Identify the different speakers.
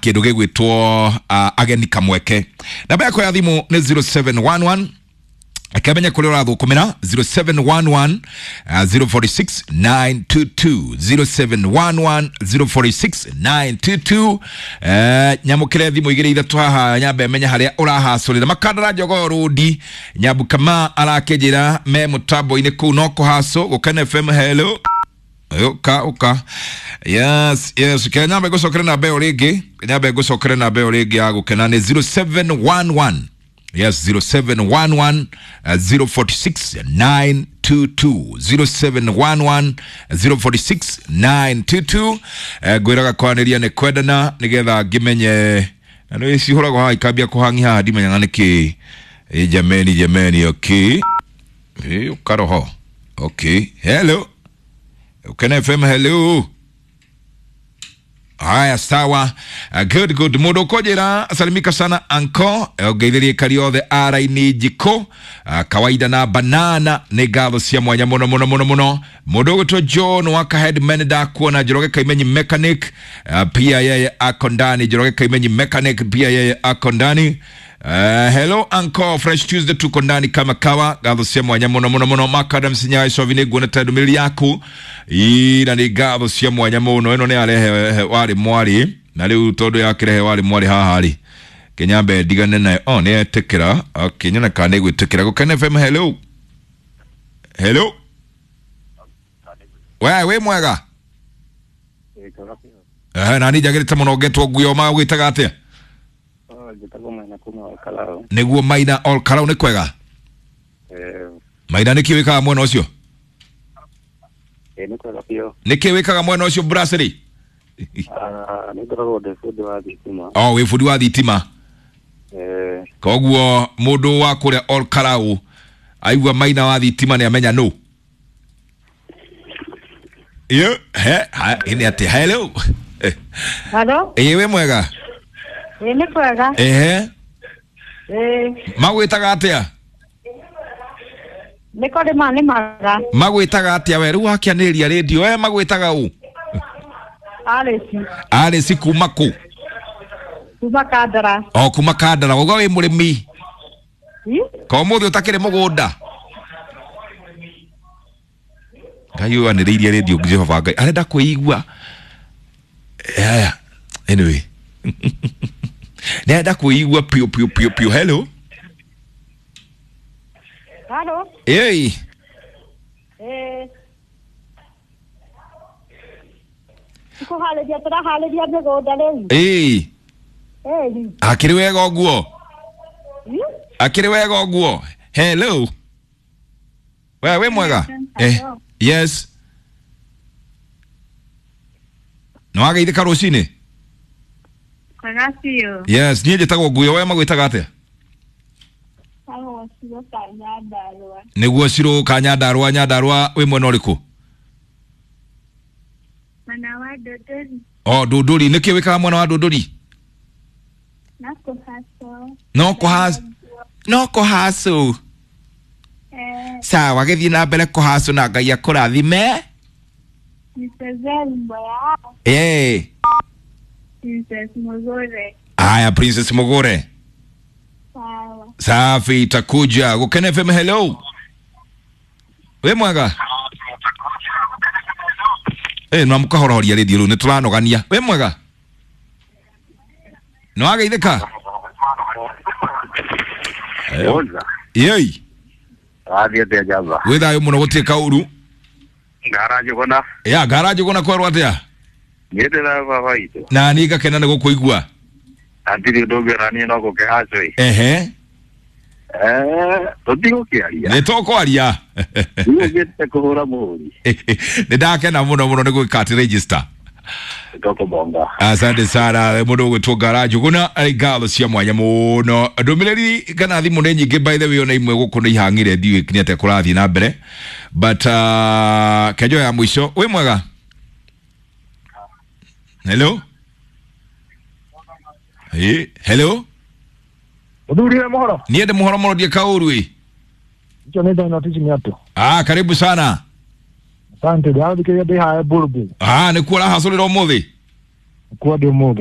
Speaker 1: Kindu gigwitwo ageni kamweke. Namba yakwa ya thimu ni 0711 akamenya kũrĩa ũrathũkũmĩra 0711 046 922 0711 046 922. Nyamũkĩre thimũ igĩrĩ ithatũ haha nyambe menye harĩa ũrahacũrĩra makandara jogoo rũndi nyambukama arakĩnjĩra me mũtambo-inĩ kũu no kũhacũ Gũkena FM. Hello, uka uka, yes yes, ke nyambe ngũcokere namba ĩyo rĩngĩ, nyambe ngũcokere namba ĩyo rĩngĩ ya Gũkena nĩ 0711, yes, 0711 046 922, 0711 046 922. Ngwĩraga kwaranĩria nĩ kwendana nĩgetha ngĩmenye na nĩ cihũragwo haha ikambia kũhangi haha ndimenyaga nĩkĩ. Jameni jameni, okay, ũkaroho, okay, hello Ukena FM, hello. Haya, sawa. Good good. Mundu ukonjira salimika sana anko ngeithirie kari othe araini njiko kawaida na banana nĩ ngatho cia mwanya muno muno muno muno. Mundu ũgwĩtwo John waka headman ndakuona Njoroge Kaimenyi mechanic, pia yeye ako ndani. Njoroge Kaimenyi mechanic pia yeye ako ndani. Hello uncle, fresh Tuesday, tuko ndani kama kawa. Ngatho cia mwanya muno muno muno. Makadam sinyai sovi nĩ nguona ta ndũmĩrĩri yaku ira nĩ ngatho cia mwanya muno. Ĩno nĩ arehe warĩ mwarĩ na rĩu tondũ yakĩrehe warĩ mwarĩ haha rĩ kinyambe ndigane nayo. Oh, nĩ etĩkĩra. Okay, nyone kana nĩ gwĩtĩkĩra. Gũkena FM, hello hello. We wĩ mwega? Na niĩ njagĩrĩte mũno ngetwo nguo magwĩtaga atĩa?
Speaker 2: Njĩtagwo Maina kuma Olkalau.
Speaker 1: Nĩguo Maina Olkalau nĩ kwega? Maina nĩkĩ wĩkaga mwena ũcio?
Speaker 2: Nĩ kwega biũ.
Speaker 1: Nĩkĩ wĩkaga mwena ũcio brasserie?
Speaker 2: Nĩ ngoragwo ndĩ bundi wa thitima.
Speaker 1: Oh, wĩ bundi wa thitima. Koguo mũndũ wa kũrĩa Olkalau aigua Maina wa thitima nĩ amenya nũ. Yo, he, ha, ĩnĩ atĩa? Hello.
Speaker 3: Halo,
Speaker 1: Ĩĩ wĩ mwega?
Speaker 3: ĩ nĩ kwega.
Speaker 1: Ehe.
Speaker 3: Ĩ
Speaker 1: Magwĩtaga atĩa?
Speaker 3: nĩ kũrĩma nĩmaga.
Speaker 1: Magwĩtaga atĩa we? Rĩu wakĩanĩrĩria rĩndio we magwĩtaga ũ?
Speaker 3: Alice
Speaker 1: Alice kuma kũ?
Speaker 3: kuma Kandara.
Speaker 1: O kuma Kandara. Wauga wĩ mũrĩmi.
Speaker 3: Ĩ?
Speaker 1: Ko ũmũthĩ ũtakĩrĩ mũgũnda? Ngai ũyũ anĩrĩirie rĩndio Jehova Ngai arenda kwĩigua. Aya, anyway. Nĩ arenda kwĩigua piũ piũ piũ piũ. Hello.
Speaker 3: Halo.
Speaker 1: Ĩĩ.
Speaker 3: Ĩ kũharĩria tũraharĩria mĩgũnda rĩu.
Speaker 1: Ĩĩ.
Speaker 3: Ĩĩ.
Speaker 1: Akĩrĩ wega ũguo?
Speaker 3: Ĩ?
Speaker 1: Akĩrĩ wega ũguo? Hello. We wĩ mwega? Yes. Nĩ wageithĩka rũcinĩ?
Speaker 4: Kwega biũ.
Speaker 1: Yes, niĩ njĩtagwo Nguyo, we magwĩtaga atĩa?
Speaker 4: Agwo Ciro ka Nyandarũa.
Speaker 1: Nĩguo Ciro ka Nyandarũa. Nyandarũa wĩ mwena ũrĩkũ?
Speaker 4: Mwena wa Ndũndũri.
Speaker 1: Oh, Ndũndũri. Nĩkĩ wĩkaga mwena wa Ndũndũri?
Speaker 4: No kũhacũ.
Speaker 1: No kũhacũ. No kũhacũ. Sawa, gĩthiĩ na mbere kũhacũ na Ngai akũrathime.
Speaker 4: Nichezee wimbo ya Princess Mugure.
Speaker 1: Aya, Princess Mugure.
Speaker 4: Sawa.
Speaker 1: Safi, itakuja. Gũkena FM, hello. Wĩ mwega? No mũkahorohoria rĩndio rĩu nĩ tũranogania. Wĩ mwega? Nĩ wageithĩka? Yei.
Speaker 2: Wathiĩ atĩa njamba?
Speaker 1: Wĩ thayũ mũno gũtirĩ kaũru.
Speaker 2: Ngara Njũgũna.
Speaker 1: Ya, ngara Njũgũna kwerwo atĩa?
Speaker 2: Niĩ ndĩ baba witũ.
Speaker 1: Na niĩ ngakena nĩ gũkũigua.
Speaker 2: Hatirĩ ũndũ ũngĩ ona niĩ no gũkĩhacwo ĩ.
Speaker 1: Ehe.
Speaker 2: Tũtigũkĩaria.
Speaker 1: Nĩ tũkwaria.
Speaker 2: Ndigũkĩte kũhũra mũhũri.
Speaker 1: Nĩ ndakena mũno mũno nĩ gwĩka atĩ register.
Speaker 2: Tũkũbonga.
Speaker 1: Asante sana mũndũ ũgwĩtwo Ngara Njũgũna ngatho cia mwanya mũno. Ndũmĩrĩri kana thimũ nĩ nyingĩ by the way ona imwe gũkũ nĩ ihang'ire ndiũĩ nĩ atĩa kũrathiĩ na mbere but kenjo ya mũico wĩ mwega? Hello. Hey, hello.
Speaker 5: Mũthuri wĩ mũhoro?
Speaker 1: Niĩ ndĩ mũhoro mũno ndiĩ kaũru ĩ.
Speaker 5: Icio nĩ Dino Tichimiatu.
Speaker 1: Ah, karibu sana.
Speaker 5: Asante, ndĩrathikĩrĩria ndĩ haha Burbu.
Speaker 1: Ah, nĩkuo ũrahacũrĩra ũmũthĩ?
Speaker 5: Kuo ndĩ ũmũthĩ.